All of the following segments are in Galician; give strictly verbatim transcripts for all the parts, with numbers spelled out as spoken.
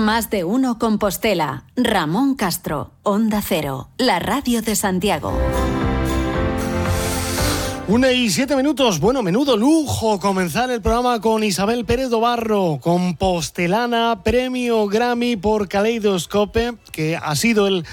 Más de uno Compostela. Ramón Castro, Onda Cero, la radio de Santiago. Una y siete minutos. Bueno, menudo lujo comenzar el programa con Isabel Pérez Dobarro, compostelana, premio Grammy por Kaleidoscope, que ha sido el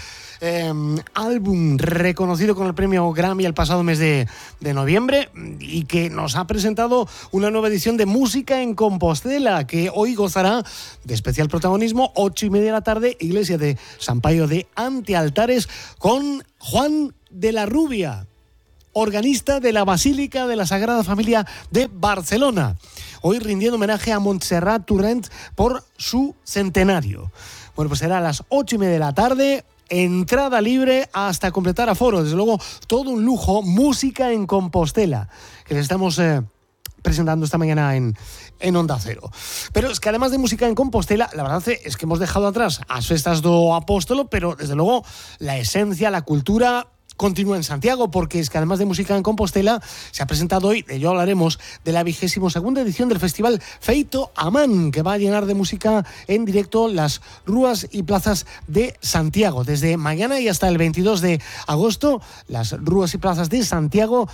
eh, álbum reconocido con el premio Grammy el pasado mes de, de noviembre, y que nos ha presentado una nueva edición de Música en Compostela, que hoy gozará de especial protagonismo, ocho y media de la tarde, Iglesia de San Paio de Antealtares, con Juan de la Rubia, organista de la Basílica de la Sagrada Familia de Barcelona, hoy rindiendo homenaje a Montserrat Torrent por su centenario. Bueno, pues será a las ocho y media de la tarde, entrada libre hasta completar aforo. Desde luego, todo un lujo, Música en Compostela, que les estamos eh, presentando esta mañana en, en Onda Cero. Pero es que además de Música en Compostela, la verdad es que hemos dejado atrás as festas do Apóstolo, pero desde luego la esencia, la cultura continúa en Santiago, porque es que además de Música en Compostela se ha presentado hoy, de ello hablaremos, de la vigésimo segunda edición del festival Feito a Man, que va a llenar de música en directo las rúas y plazas de Santiago. Desde mañana y hasta el veintidós de agosto, las rúas y plazas de Santiago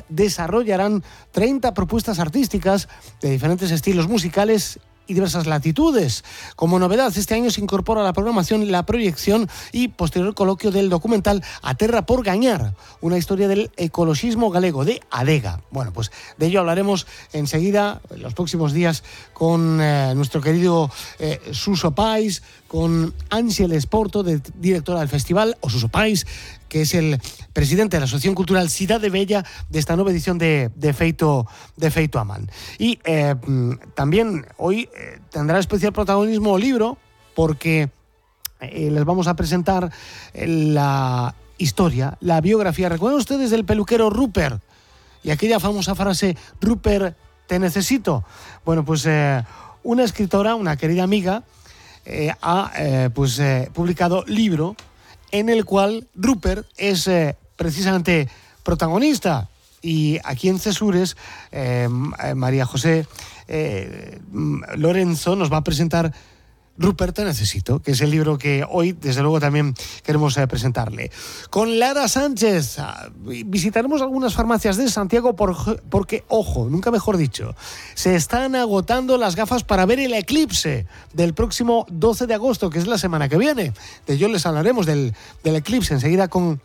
desarrollarán treinta propuestas artísticas de diferentes estilos musicales y diversas latitudes. Como novedad, este año se incorpora a la programación la proyección y posterior coloquio del documental A Terra por Gañar, una historia del ecologismo galego, de Adega. Bueno, pues de ello hablaremos enseguida, en los próximos días, con eh, nuestro querido eh, Suso Pais, con Ángel Esporto, de, directora del festival, o Suso Pais, que es el presidente de la Asociación Cultural Cidade Bella, de esta nueva edición de, de, Feito, de Feito a Man. Y eh, también hoy eh, tendrá especial protagonismo el libro, porque eh, les vamos a presentar la historia, la biografía. ¿Recuerdan ustedes del peluquero Rupert? Y aquella famosa frase, Rupert, te necesito. Bueno, pues eh, una escritora, una querida amiga, eh, ha eh, pues, eh, publicado libro en el cual Rupert es eh, precisamente protagonista. Y aquí en Cesures, eh, María José eh, Lorenzo nos va a presentar Rupert, te necesito, que es el libro que hoy, desde luego, también queremos eh, presentarle. Con Lara Sánchez visitaremos algunas farmacias de Santiago por, porque, ojo, nunca mejor dicho, se están agotando las gafas para ver el eclipse del próximo doce de agosto, que es la semana que viene. De ello les hablaremos del, del eclipse enseguida con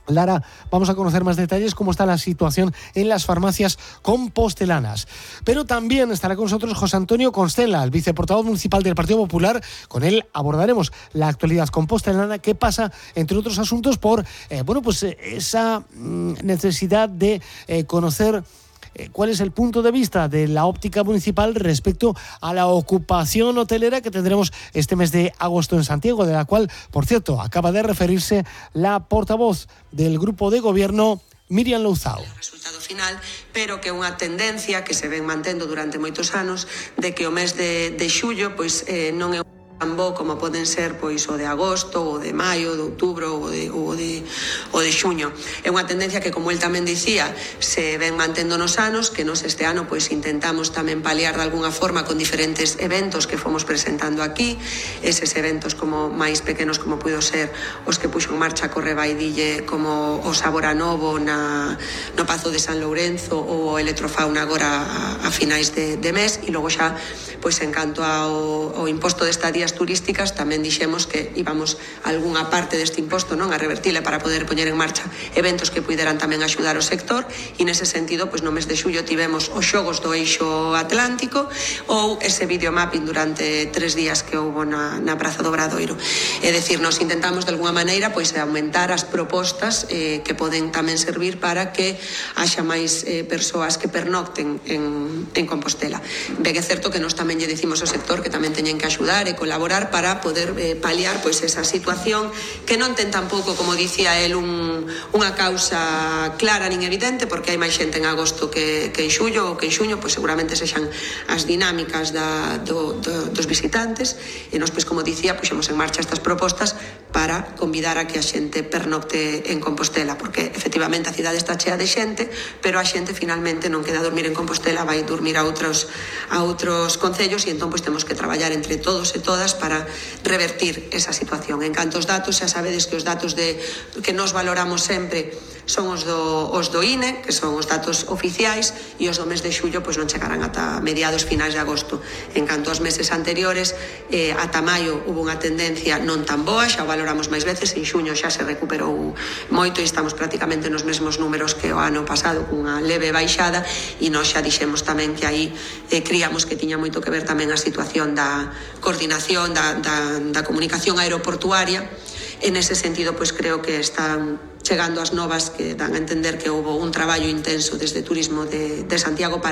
Lara. Vamos a conocer más detalles, cómo está la situación en las farmacias compostelanas. Pero también estará con nosotros José Antonio Constella, el viceportavoz municipal del Partido Popular. Con él abordaremos la actualidad compostelana, que pasa, entre otros asuntos, por eh, bueno, pues eh, esa mm, necesidad de eh, conocer cuál es el punto de vista de la óptica municipal respecto a la ocupación hotelera que tendremos este mes de agosto en Santiago, de la cual, por cierto, acaba de referirse la portavoz del grupo de gobierno, Miriam Louzao. Resultado final, pero que unha tendencia que se ven mantendo durante moitos anos, de que o mes de, de xullo pois, eh, non é tan bo como poden ser pois o de agosto, o de maio, de outubro ou de, o de, o de xuño. É unha tendencia que, como el tamén dicía, se ven mantendo nos anos, que nos este ano pois intentamos tamén paliar de alguna forma con diferentes eventos que fomos presentando aquí, eses eventos como máis pequenos como puido ser os que puxo en marcha Corre Baidille, como o Sabora Novo na, no Pazo de San Lourenzo ou o Electrofauna agora a, a finais de, de mes, e logo xa pois en canto ao, ao imposto de estadías turísticas, tamén dixemos que íbamos algunha parte deste imposto non a revertile para poder poñer en marcha eventos que puideran tamén axudar o sector, e nese sentido, pois no mes de xullo tivemos os xogos do Eixo Atlántico ou ese videomapping durante tres días que houbo na, na Praza do Obradoiro. É dicir, nos intentamos de alguna maneira pois aumentar as propostas eh, que poden tamén servir para que haxa máis eh, persoas que pernocten en, en Compostela. Ben é certo que nos tamén lle dicimos ao sector que tamén teñen que axudar e colaborar para poder eh, paliar pois esa situación que non ten tampouco, como dicía el, un, unha causa clara nin evidente, porque hai máis xente en agosto que, que en xullo, ou que en xuño pois seguramente sexan as dinámicas da, do, do, dos visitantes, e nos, pois como dicía, puxemos en marcha estas propostas para convidar a que a xente pernocte en Compostela, porque efectivamente a cidade está chea de xente, pero a xente finalmente non queda a dormir en Compostela, vai dormir a outros, a outros concellos, e entón pois temos que traballar entre todos e todas boas para revertir esa situación. En canto aos datos, xa sabedes que os datos de, que nos valoramos sempre son os do, os do I N E, que son os datos oficiais, e os do mes de xullo pois non chegarán ata mediados finais de agosto. En canto aos meses anteriores, eh, ata maio hubo unha tendencia non tan boa, xa o valoramos máis veces, en xuño xa se recuperou moito e estamos prácticamente nos mesmos números que o ano pasado, cunha leve baixada, e nós xa dixemos tamén que aí eh, criamos que tiña moito que ver tamén a situación da coordinación, da, da, da comunicación aeroportuaria. En ese sentido, pois creo que están chegando as novas que dan a entender que houve un traballo intenso desde Turismo de, de Santiago para